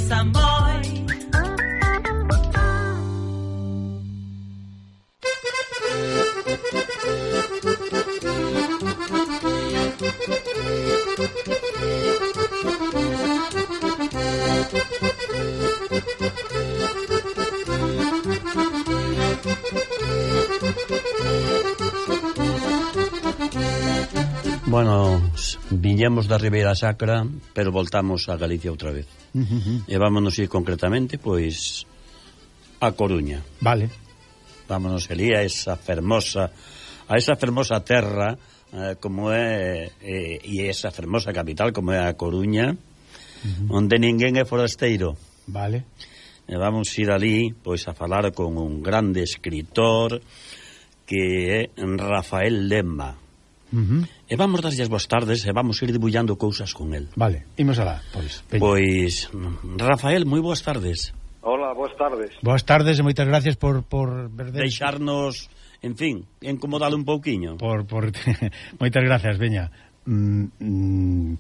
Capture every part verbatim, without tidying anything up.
Samboy. Bueno, viñemos da Ribeira Sacra, pero voltamos a Galicia outra vez. Uh -huh. E vámonos ir concretamente, pois, a Coruña. Vale. Vámonos ali a esa fermosa, a esa fermosa terra, eh, como é, eh, e esa fermosa capital, como é a Coruña, uh -huh. onde ninguén é forasteiro. Vale. E vamos ir ali, pois, a falar con un grande escritor que é Rafael Lemma. Uh -huh. E vamos darlle as boas tardes e vamos ir debullando cousas con el. Vale, imos alá, pois. Peña. Pois, Rafael, moi boas tardes. Hola, boas tardes. Boas tardes e moitas gracias por por verdes... deixarnos, en fin, incomodalo un pouquiño. Por por moitas gracias, veña. Mm, mm,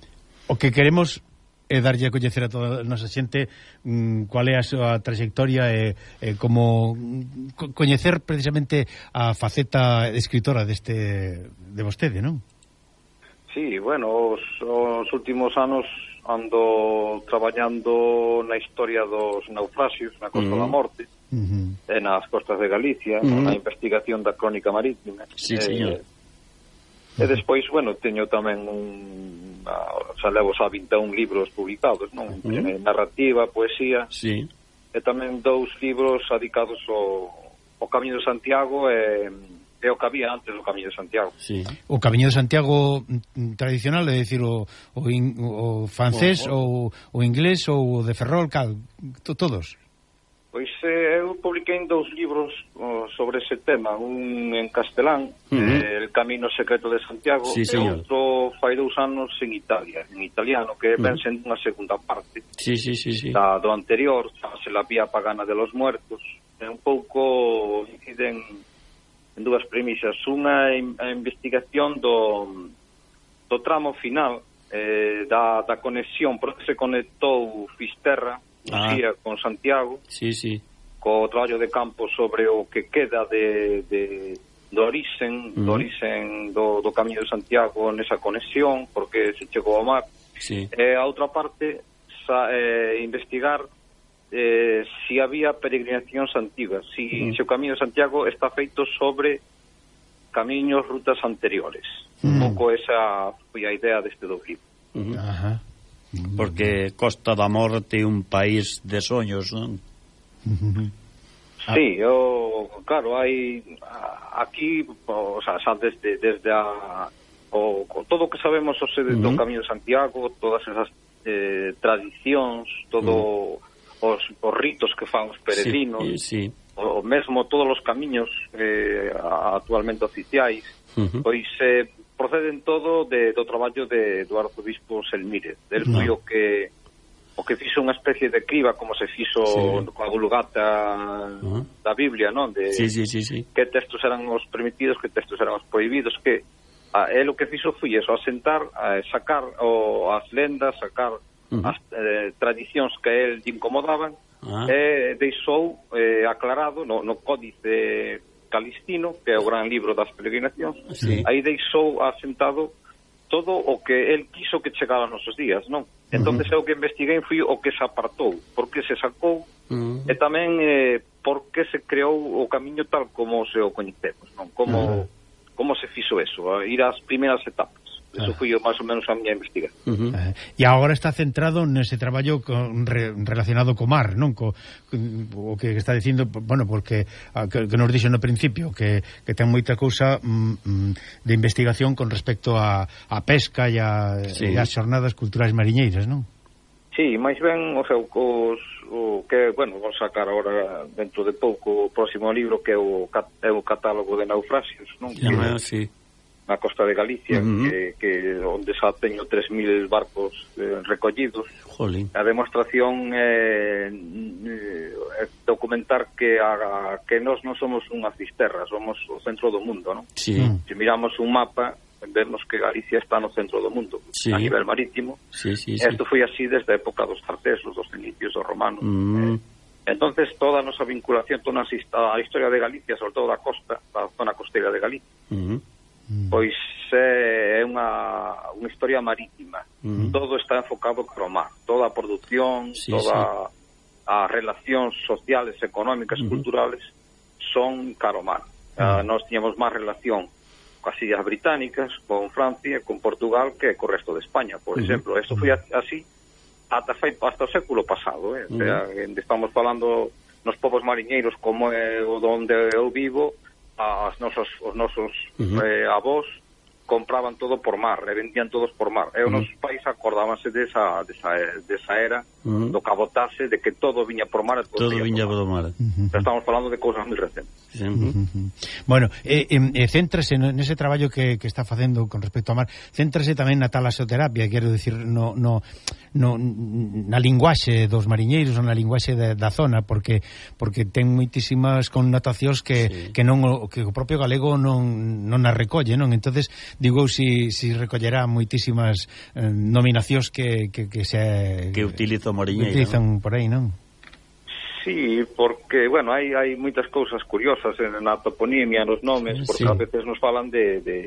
o que queremos é darlle a coñecer a toda a nosa xente mm, cual é a súa trayectoria e, e como co coñecer precisamente a faceta escritora deste de vostede, non? Sí, bueno, os, os últimos anos ando traballando na historia dos naufraxios na Costa uh -huh. da Morte uh -huh. e nas costas de Galicia, uh -huh. na investigación da crónica marítima. Sí, eh, señor. E despois, bueno, teño tamén un xa levo xa vinte e un libros publicados, non? Uh -huh. Narrativa, poesía. Sí. E tamén dous libros dedicados ao, ao Camiño de Santiago e, e o que había antes do Camiño de Santiago. Sí. O Camiño de Santiago tradicional, é dicir, o, o, in, o francés, o, o, o inglés, ou o de Ferrol, cal, to, todos? Pois eh, eu publiquei dous libros oh, sobre ese tema, un en castelán, uh -huh. eh, El Camino Secreto de Santiago, sí, e outro fai dous anos en Italia, en italiano, que uh -huh. ven sendo unha segunda parte sí, sí, sí, sí. da, do anterior, chamase La Vía Pagana de los Muertos. É un pouco inciden en dúas premisas, unha a investigación do, do tramo final eh, da, da conexión, porque se conectou Fisterra ah. con Santiago, sí, sí. co traballo de campo sobre o que queda de, de do orixen, uh -huh. do orixen do, do Camiño de Santiago nesa conexión, porque se chegou ao mar. Sí. E a outra parte, sa, eh, investigar eh, si había peregrinacións antigas, si, uh -huh. si o Camiño de Santiago está feito sobre camiños, rutas anteriores. Uh -huh. Un pouco esa foi a idea deste do libro. Uh -huh. Ajá. Porque Costa da Morte é un país de soños, non? Sí, o, claro, hai aquí, o sea, xa desde, desde a, o, todo o que sabemos o sede do Camiño de Santiago, todas esas eh, tradicións, todo uh -huh. os, os ritos que fan os peregrinos, sí, sí. o mesmo todos os camiños eh, actualmente oficiais, uh -huh. pois eh, proceden todo de, do traballo de, do arzobispo Selmírez. Del no. foi o que o que fixo unha especie de criba, como se fixo sí. coa Vulgata uh -huh. da Biblia, non? De sí, sí, sí, sí. que textos eran os permitidos, que textos eran os prohibidos, que a, él o que fixo foi eso, asentar, a, sacar o, as lendas, sacar uh -huh. as eh, tradicións que a él lle incomodaban, uh -huh. e deixou eh, aclarado no, no códice Calistino, que é o gran libro das peregrinacións, sí. aí deixou asentado todo o que el quiso que chegara aos nosos días, non? Entonces uh -huh. eu que investiguei foi o que se apartou, por que se sacou, uh -huh. e tamén eh, por que se creou o camiño tal como se o coñecemos, non? Como, uh -huh. como se fixo eso, a ir ás primeiras etapas. Eso foi máis ou menos a miña investigación. Uh -huh. uh, e agora está centrado nese traballo con, re, relacionado co mar, non? Co, o que está dicindo, bueno, porque que, que nos dixo no principio que, que ten moita cousa mm, de investigación con respecto a, a pesca e a, sí. e as xornadas culturais mariñeiras, non? Sí, máis ben, o sea, os, o que, bueno, vou sacar agora dentro de pouco o próximo libro que é o, é o catálogo de naufraxios, non? Sí, que, sí. na costa de Galicia, uh -huh. que, que onde xa teño tres mil barcos eh, recollidos. Jolín. A demostración é eh, documentar que a, que nós non somos unha cisterra, somos o centro do mundo, non? Sí. Se miramos un mapa, vemos que Galicia está no centro do mundo, sí, a nivel marítimo. Sí, sí, Isto sí. foi así desde a época dos tartesos, dos fenicios, dos romanos. Mm. Eh, entonces toda a nosa vinculación, toda a historia de Galicia, sobre todo da costa, da zona costeira de Galicia, mm. pois é unha, unha historia marítima. Mm. Todo está enfocado para o mar, toda a produción, sí, toda sí. as relacións sociales, económicas, mm. culturales son cara ao mar. Mm. Uh, nós tiñamos máis relación coas Illas Británicas, con Francia, con Portugal, que co resto de España, por mm. exemplo. Isto foi así ata, hasta o século pasado, eh? Mm. O sea, estamos falando nos povos mariñeiros como é o onde eu vivo, as nosos, os nosos uh-huh. eh, avós compraban todo por mar, e vendían todos por mar. E os uh-huh. nosos pais acordábanse desa, desa, desa era uh-huh. do cabotaxe, de que todo viña por mar. Todo, todo viña por mar. Uh-huh. Estamos falando de cousas moi recentes. Uh-huh. Uh-huh. Bueno, eh, eh, céntrase nese traballo que, que está facendo con respecto ao mar, céntrase tamén na talasoterapia, quero dicir, no, no, no, na linguaxe dos mariñeiros, na linguaxe da, da zona, porque porque ten moitísimas connotacións que, sí. que non o, que o propio galego non, non as recolle, non? Entonces digo, si, si recollerá moitísimas eh, nominacións que, que, que se que utilizo mariñeiro, utilizan, ¿no? Por aí, non? Sí, porque, bueno, hai, hai moitas cousas curiosas na toponimia, nos nomes, porque sí. a veces nos falan de, de,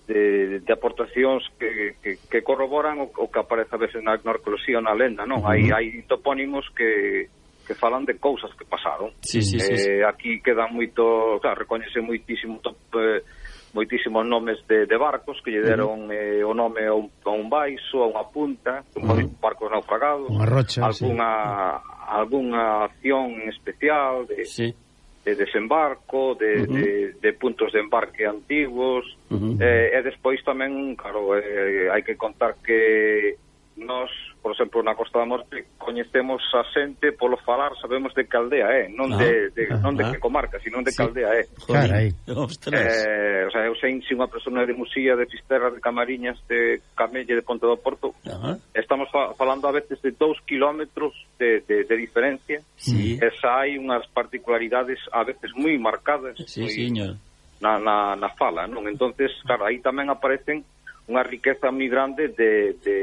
de, de aportacións que, que, que corroboran o, o que aparece a veces na arqueoloxía ou na lenda, non? Uh-huh. Hai, hai topónimos que, que falan de cousas que pasaron. Sí, sí, eh, sí, sí. Aquí quedan moito, claro, recoñece moitísimo top, eh, moitísimos nomes de, de barcos que lle deron eh, o nome a un, a un baixo, a unha punta, uh-huh. barcos naufragados, unha rocha, alguna, sí. alguna acción especial de, sí. de desembarco, de, uh-huh. de, de puntos de embarque antigos, uh-huh. eh, e despois tamén, claro, eh, hai que contar que nós, por exemplo, na Costa da Morte coñecemos a xente polo falar, sabemos de que aldea é, non ah, de, de non de que comarca, sino de sí. que aldea é. Carai. Eh, o sea, eu sei se unha persona de Musía, de Fisterra, de Camariñas, de Camelle, de Ponte do Porto, uh-huh. estamos fa falando a veces de dous kilómetros de, de, de diferencia, sí. esa hai unhas particularidades a veces moi marcadas sí, moi, señor. Na, na, na fala, non? Entonces, claro, aí tamén aparecen unha riqueza moi grande de... de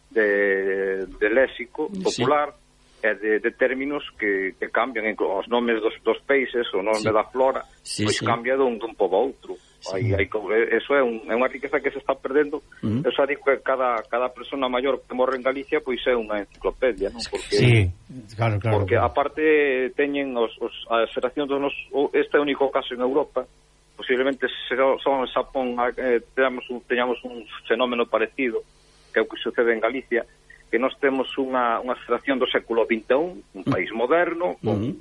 de, de léxico popular sí. e de, de términos que, que cambian, os nomes dos, dos peixes, o nome sí. da flora, sí, pois sí. cambia dun, dun pobo a outro. Sí. Aí, aí, eso é, un, é unha riqueza que se está perdendo. Uh-huh. Eu xa digo que cada, cada persona maior que morre en Galicia pois é unha enciclopedia, non? Porque, sí, claro, claro. Porque aparte teñen os, os, as xeracións dos nos, este é o único caso en Europa, posiblemente son en Xapón eh, teñamos, un, teñamos un fenómeno parecido, que é o que sucede en Galicia, que nós temos unha, unha xeración do século vinte e un, un país moderno, con, uh-huh.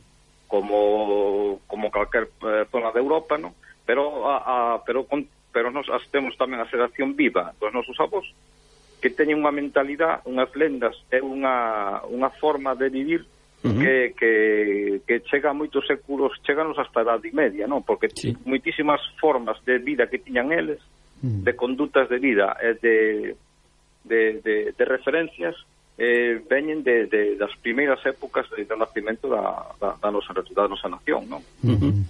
como como calquer eh, zona de Europa, ¿no? Pero a, a, pero con, pero nós as temos tamén a xeración viva dos nosos avós, que teñen unha mentalidade, unhas lendas e unha, unha forma de vivir uh-huh. que, que, que chega a moitos séculos, cheganos hasta a Idade Media, ¿no? Porque sí. moitísimas formas de vida que tiñan eles, uh-huh. de condutas de vida e de De, de, de referencias eh, veñen de, de, das primeiras épocas do nacimento da, da, da, nosa, da nosa nación, non? Uh-huh.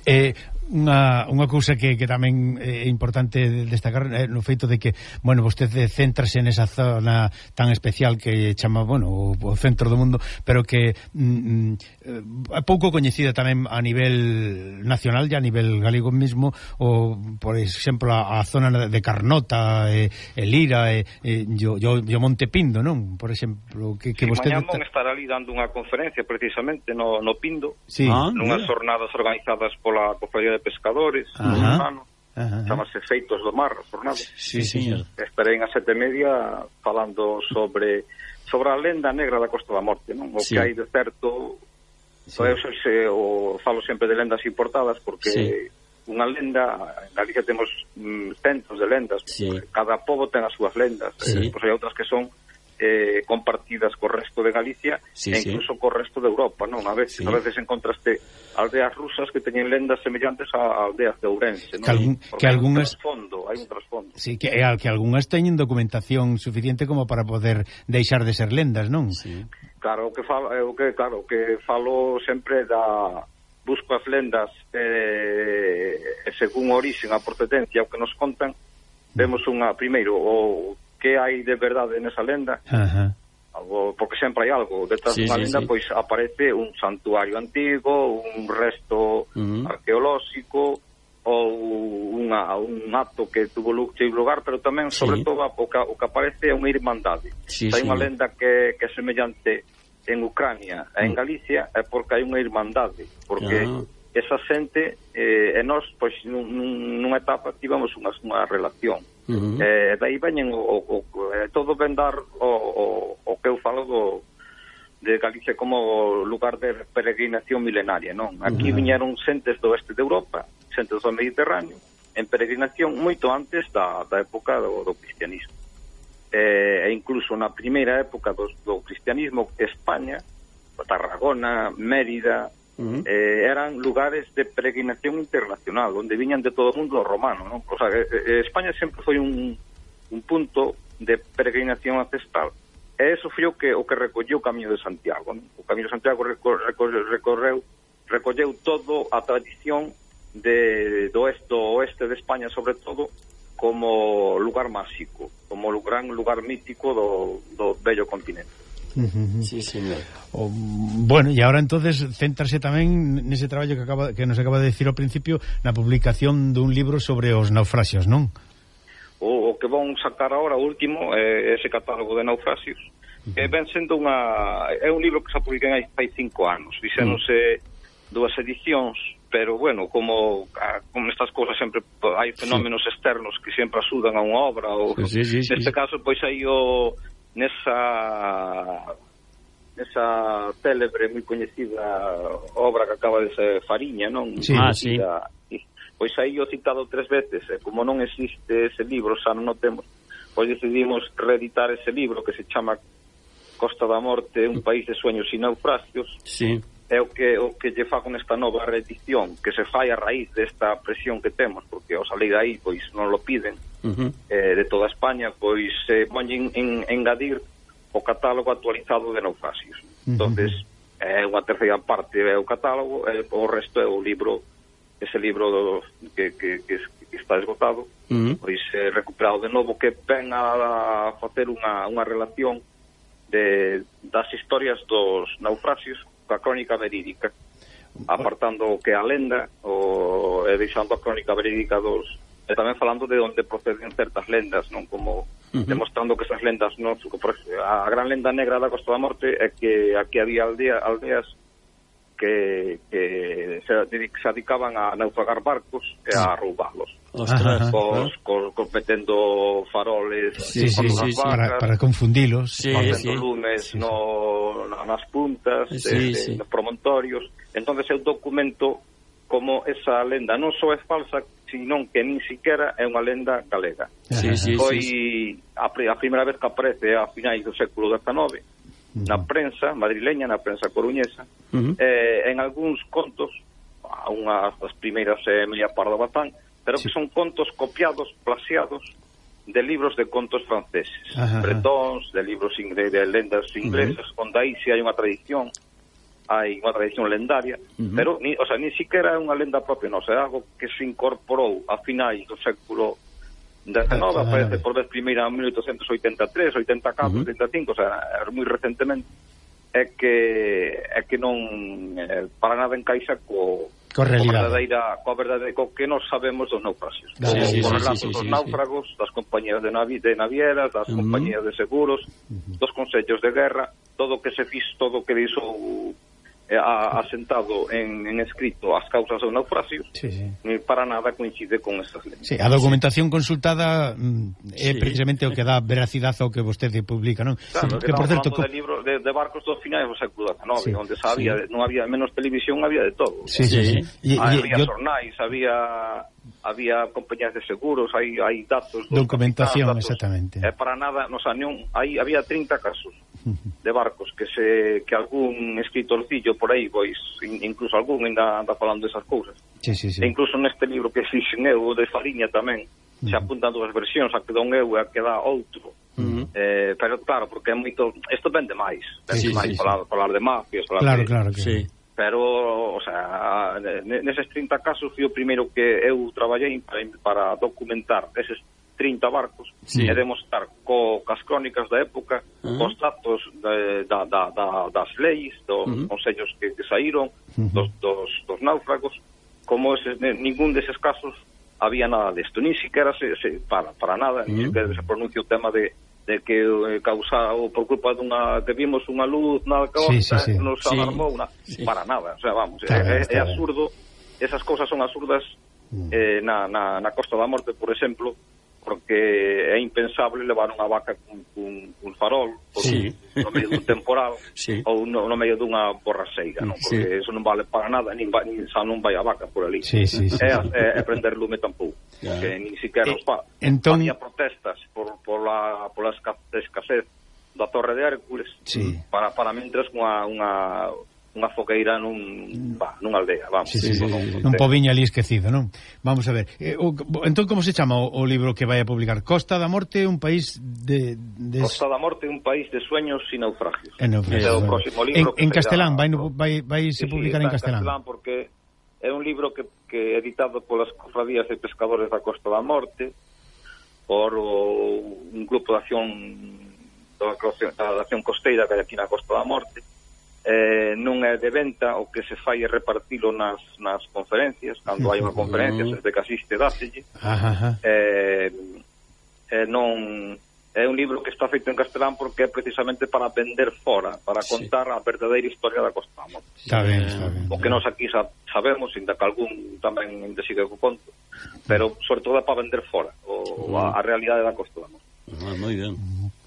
Eh, unha, unha cousa que, que tamén é importante destacar é no feito de que, bueno, vostede céntrase nesa zona tan especial que chama, bueno, o, o centro do mundo, pero que mm, é pouco coñecida tamén a nivel nacional e a nivel galego mesmo, o, por exemplo, a, a zona de Carnota, e, e Lira, e, e yo, yo, yo Monte Pindo, non? Por exemplo, que, que sí, vostede... Mañá mon estará ali dando unha conferencia precisamente no, no Pindo, sí. ah, nunhas jornadas organizadas pola Cofradía de Pescadores, uh-huh. chamase Feitos do Mar, jornada. Sí, señor. Estarei a sete e media falando sobre sobre a lenda negra da Costa da Morte, non? O sí. que hai de certo, sí. eu se, o, falo sempre de lendas importadas, porque sí. unha lenda, en Galicia temos mm, centos de lendas, sí. cada pobo ten as súas lendas, sí. eh, pois hai outras que son Eh, compartidas co resto de Galicia sí, e incluso sí. co resto de Europa, non? A veces, sí. a veces encontraste aldeas rusas que teñen lendas semellantes a aldeas de Ourense, non? Que, algún, que algunhas... hai un trasfondo, hai un trasfondo. Sí, que, que algunhas teñen documentación suficiente como para poder deixar de ser lendas, non? Sí. Claro, o que falo, o que claro, que falo sempre da busco as lendas eh, según a orixen, a procedencia, o que nos contan, vemos unha, primeiro, o que hai de verdade nesa lenda, Ajá. algo, porque sempre hai algo detrás Sí, dunha sí, lenda, sí. pois aparece un santuario antigo, un resto Uh-huh. arqueolóxico, ou unha, un acto que tuvo lugar, pero tamén, Sí. sobre todo, o que, o que aparece é unha irmandade. Sí, hai sí. unha lenda que, que é semellante en Ucrania e en Mm. Galicia, é porque hai unha irmandade, porque Ah. esa xente eh, e nós, pois, nun, nunha etapa tivemos unha, unha relación. Uh-huh. Eh, daí veñen o, o, o, eh, todo ven dar o, o, o que eu falo do, de Galicia como lugar de peregrinación milenaria, non? Aquí Uh-huh. viñeron xentes do oeste de Europa, xentes do Mediterráneo, en peregrinación moito antes da, da época do, do cristianismo. Eh, e incluso na primeira época do, do cristianismo, España, Tarragona, Mérida, Uh-huh. eh, eran lugares de peregrinación internacional, onde viñan de todo o mundo romano, non? O sea, eh, España sempre foi un, un punto de peregrinación ancestral. E eso foi o que, o que recolleu o Camiño de Santiago, non? O Camiño de Santiago recor, recor, recorreu, recolleu todo a tradición de, do oeste, do oeste de España, sobre todo, como lugar máxico, como gran lugar mítico do, do bello continente. Uh-huh. Sí, señor. O, bueno, e agora entonces céntrase tamén nese traballo que acaba que nos acaba de decir ao principio, na publicación dun libro sobre os naufraxios, non? O, o que vão sacar agora, o último, é ese catálogo de naufraxios, que ven sendo unha... é un libro que se publica hai, hai cinco anos, fixéronse dúas edicións, pero, bueno, como, como estas cousas sempre hai fenómenos sí. externos que sempre axudan a unha obra, ou sí, sí, sí, neste sí. caso, pois aí o... nesa nesa célebre, moi coñecida obra que acaba de ser Fariña, non? Sí. Ah, sí. Pois aí o citado tres veces, e como non existe ese libro, xa non o temos, pois decidimos reeditar ese libro que se chama Costa da Morte, un país de sueños e naufragios. Sí. É o que o que lle fago nesta nova reedición, que se fai a raíz desta presión que temos, porque ao salir aí, pois non lo piden, Uh-huh. eh, de toda España, pois se eh, poñen en, en engadir o catálogo actualizado de naufragios. Uh-huh. Entonces, é unha terceira parte é o catálogo, e o resto é o libro, ese libro do, que, que, que, que está esgotado, Uh-huh. pois é recuperado de novo, que ven a, a facer unha, unha relación de, das historias dos naufragios coa crónica verídica, apartando o que é a lenda, o, e deixando a crónica verídica dos... e tamén falando de onde proceden certas lendas, non, como uh-huh. demostrando que esas lendas non, a gran lenda negra da Costa da Morte é que aquí había aldea, aldeas que, que se, se dedicaban a naufragar barcos e a roubalos. Ostras. Cos, cos, cos metendo faroles sí, sí, sí, sí. Para, para confundilos, sí, facendo sí. lumes sí, sí. No, nas puntas, sí, de, sí. nos promontorios. Entonces é un documento como esa lenda non só é falsa, sino que nin siquiera é unha lenda galega. Sí, sí, Foi sí, sí. a, a primeira vez que aparece a finais do século dezenove na prensa madrileña, na prensa coruñesa, Uh-huh. eh, en algúns contos, unha das primeiras é Emilia Pardo Bazán, pero sí. que son contos copiados, plaxiados de libros de contos franceses, Ajá. bretons, de libros ingles, de lendas inglesas, uh-huh. onde aí si hai unha tradición, hai unha tradición lendaria, uh-huh. pero ni, o sea, ni siquiera é unha lenda propia, non, é algo que se incorporou a finais do século dezenove, ah, aparece ah, por vez primeira en mil oitocentos oitenta e tres, oitenta e catro, uh-huh. oitenta e cinco, o sea, é moi recentemente, é que é que non eh, para nada encaixa co Co realidade. verdadeira, coa verdade, co que nos sabemos dos naufragios. Sí, sí, Os sí, relatos sí, sí, dos sí, náufragos, das compañías de, navi, de navieras, das Uh-huh. compañías de seguros, Uh-huh. dos consellos de guerra, todo o que se fix, todo o que dixo eh, a, asentado en, en escrito as causas dos naufragios, Sí, sí. ni para nada coincide con estas lendas. Sí, a documentación consultada mm, é Sí. precisamente o que dá veracidade ao que vostede publica, non? Claro, que, que por certo, falando de libros de, de barcos dos finais do século dezenove, Sí, onde sabía, sí. non había menos televisión, había de todo. Sí, sí, sí. Sí. E, Ah, e, había yo, xornais, había había compañías de seguros, hai hai datos, dos documentación, capitás, datos. exactamente. É para nada, no sea, non, hai había trinta casos de barcos que se que algún escritorcillo por aí, pois in, incluso algún ainda anda falando desas cousas. Sí, sí, sí. E incluso neste libro que fixen eu de Fariña tamén se apuntan dúas versións, a que dá un eu e a que dá outro. Uh-huh. Eh, pero claro, porque é moito, isto vende máis, vende Sí, máis sí, falar, sí. falar de mafias, falar Claro, de, claro que Sí. pero, o sea, neses trinta casos fui o primeiro que eu traballei para, para documentar eses trinta barcos, sí. E demostrar co, cas crónicas da época, uh-huh. cos datos de, da, da, da, das leis, dos uh-huh. consellos que, que saíron, uh-huh. dos, dos, dos náufragos, como ese, ningún deses casos había nada desto, ni siquiera se, se para, para nada, uh-huh. ni siquiera se pronuncia o tema de de que eh, causado por culpa dunha que vimos unha luz na costa, sí, sí, sí. nos alarmou sí. na, sí. para nada, o sea, vamos, está é, é, é absurdo, esas cousas son absurdas mm. eh, na, na, na Costa da Morte, por exemplo, porque é impensable levar unha vaca cun, cun, cun farol por sí. un, no medio dun temporal sí. ou no, no medio dunha borraseira, non? Porque sí. eso non vale para nada, nin, va, nin xa non vai a vaca por ali. Sí, sí, sí. É, é, é prender lume tampouco, yeah. que nin siquiera os fa. Entón... Había protestas por, por, la, por la escasez da Torre de Hércules sí. para, para mentres unha, unha, unha fogueira nun, bah, nunha aldea, vamos. Sí, sí, sí, sí. Un pobiño ali esquecido, non? Vamos a ver. Eh, o, entón, como se chama o, o libro que vai a publicar? Costa da Morte, un país de... de... Costa da Morte, un país de sueños e naufragios. En, é o próximo libro en, en castelán, vai, vai, vai se sí, publicar sí, en castelán. en castelán, porque é un libro que, que editado polas cofradías de pescadores da Costa da Morte, por o, un grupo de acción da, da acción costeira que hai aquí na Costa da Morte. Eh, non é de venta, o que se fai é repartilo nas, nas conferencias, cando hai unha conferencia, desde que asiste dáselle. Eh, eh, non é un libro que está feito en castelán porque é precisamente para vender fora, para contar sí. a verdadeira historia da Costa da Morte. Está ben, está ben. O que nós aquí sabemos, ainda que algún tamén sigue co conto, pero sobre todo é para vender fora o, a, a realidade da Costa da Morte. Ah, moi ben.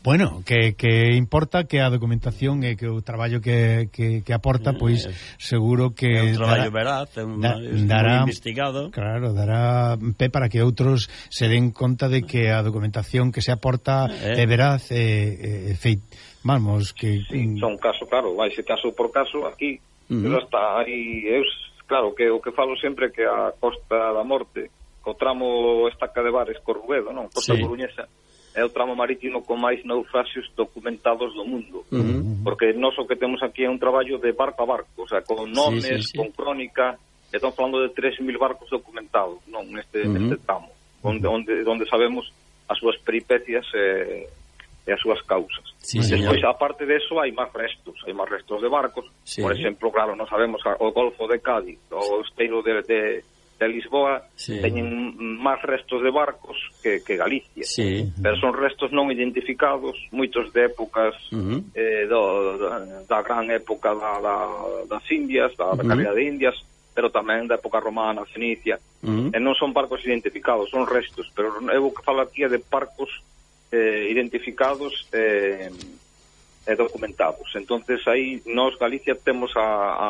Bueno, que, que importa que a documentación e que o traballo que, que, que aporta, pois seguro que é un traballo dará, veraz, é un, da, dará, investigado. Claro, dará pé para que outros se den conta de que a documentación que se aporta eh. é veraz e eh, feit, vamos, que sí, son caso, claro, vai ser caso por caso aquí, uh-huh. pero está aí, eu, claro, que o que falo sempre que a Costa da Morte, o tramo Estaca de Bares Corruedo, non, Costa sí. Coruñesa, é o tramo marítimo con máis naufraxios documentados do mundo. Uh-huh. Porque nós o que temos aquí é un traballo de barco a barco, o sea, con nomes, sí, sí, sí. con crónica, estamos falando de tres mil barcos documentados, non, neste, uh-huh. neste tramo, onde, onde, onde sabemos as súas peripecias e, e as súas causas. Sí, despois, aparte de eso, hai máis restos, hai máis restos de barcos, sí. Por exemplo, claro, non sabemos o Golfo de Cádiz, o esteiro de... de de Lisboa, sí. Teñen máis restos de barcos que, que Galicia, sí. Pero son restos non identificados, moitos de épocas uh-huh. eh, do, da, da gran época da, da, das Indias, da, da calidad uh-huh. de Indias, pero tamén da época romana, Fenicia, uh-huh. E non son barcos identificados, son restos, pero eu que falo aquí é de barcos eh, identificados e eh, documentados. Entonces aí nós Galicia temos a, a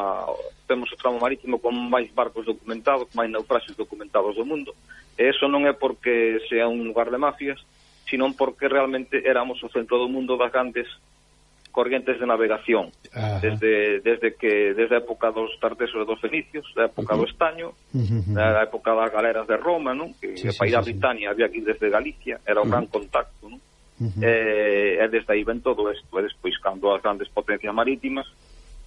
temos o tramo marítimo con máis barcos documentados, máis naufraxios documentados do mundo, e eso non é porque sea un lugar de mafias, sino porque realmente éramos o centro do mundo das grandes corrientes de navegación. Ajá. desde desde que desde a época dos tartesos e dos fenicios, da época uh-huh. do estaño, uh-huh. da época das galeras de Roma, non? Que, sí, que sí, para ir a Britania sí. había aquí desde Galicia, era un uh-huh. gran contacto, non? Uh-huh. E, e desde aí ven todo isto, e despois cando as grandes potencias marítimas,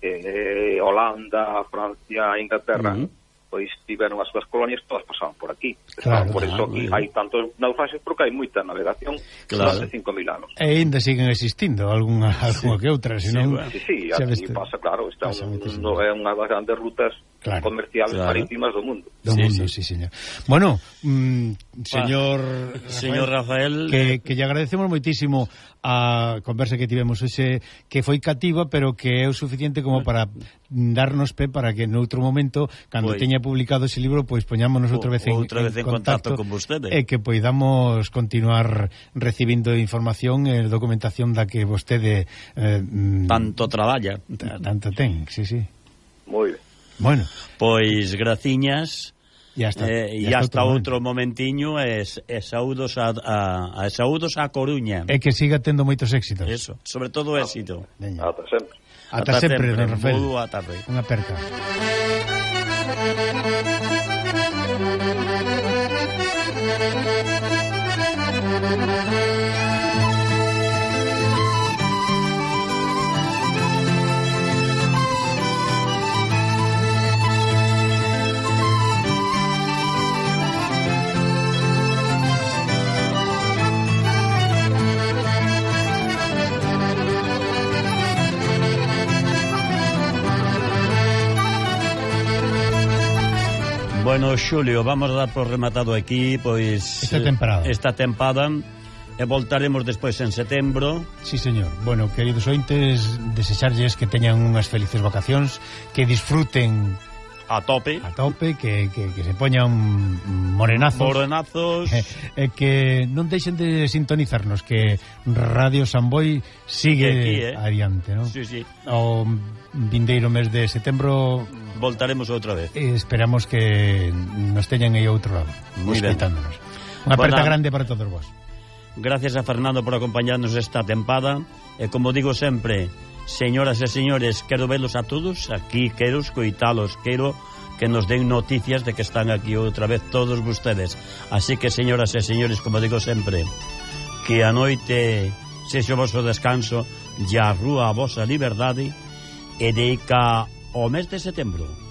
eh, Holanda, Francia, Inglaterra, uh-huh. pois tiveron as súas colonias, todas pasaban por aquí. Claro, por eso aquí hai tantos naufraxios porque hai moita navegación claro. Durante cinco mil anos. E ainda siguen existindo algunha, algunha sí. que outra, senón... Sí, sí, sí aquí pasa, claro, está un, un, é unha das grandes rutas claro. Comerciales claro. Marítimas do mundo. Do sí, mundo, sí, sí señor. Bueno, mm, señor ah, señor Rafael, que, que lle agradecemos moitísimo a conversa que tivemos hoxe, que foi cativa, pero que é o suficiente como para darnos pé para que noutro momento, cando pues, teña publicado ese libro, pois pues, poñámonos outra vez en, outra vez en, en contacto, contacto con vostede e que poidamos continuar recibindo información e documentación da que vostede eh, tanto traballa, tanto ten, sí, sí. Moi ben. Bueno, pois graciñas. Ya está, eh, ya hasta outro momentiño e, e saúdos a, a, a saúdos a Coruña. E que siga tendo moitos éxitos. Eso, sobre todo éxito. Ah, ata sempre. Ata, ata sempre, don Rafael. Boa tarde. Unha aperta. Bueno, Xulio, vamos a dar por rematado aquí, pois... Esta temporada. Esta tempada, e voltaremos despois en setembro. Sí, señor. Bueno, queridos ointes, desexarlles que teñan unhas felices vacacións, que disfruten a tope, a tope, que, que, que se poñan morenazos, morenazos, e eh, eh, que non deixen de sintonizarnos, que Radio Samboy sigue aquí, eh? adiante, ¿no? Sí, sí. O vindeiro mes de setembro voltaremos outra vez. Eh, esperamos que nos teñan aí outro lado, escoitándonos. Unha aperta grande para todos vos. Gracias a Fernando por acompañarnos esta tempada. E como digo sempre, señoras e señores, quero velos a todos aquí, quero escoitalos, quero que nos den noticias de que están aquí outra vez todos vostedes. Así que, señoras e señores, como digo sempre, que a noite sexa o vosso descanso e a rúa a vosa liberdade, e dedica o mes de setembro.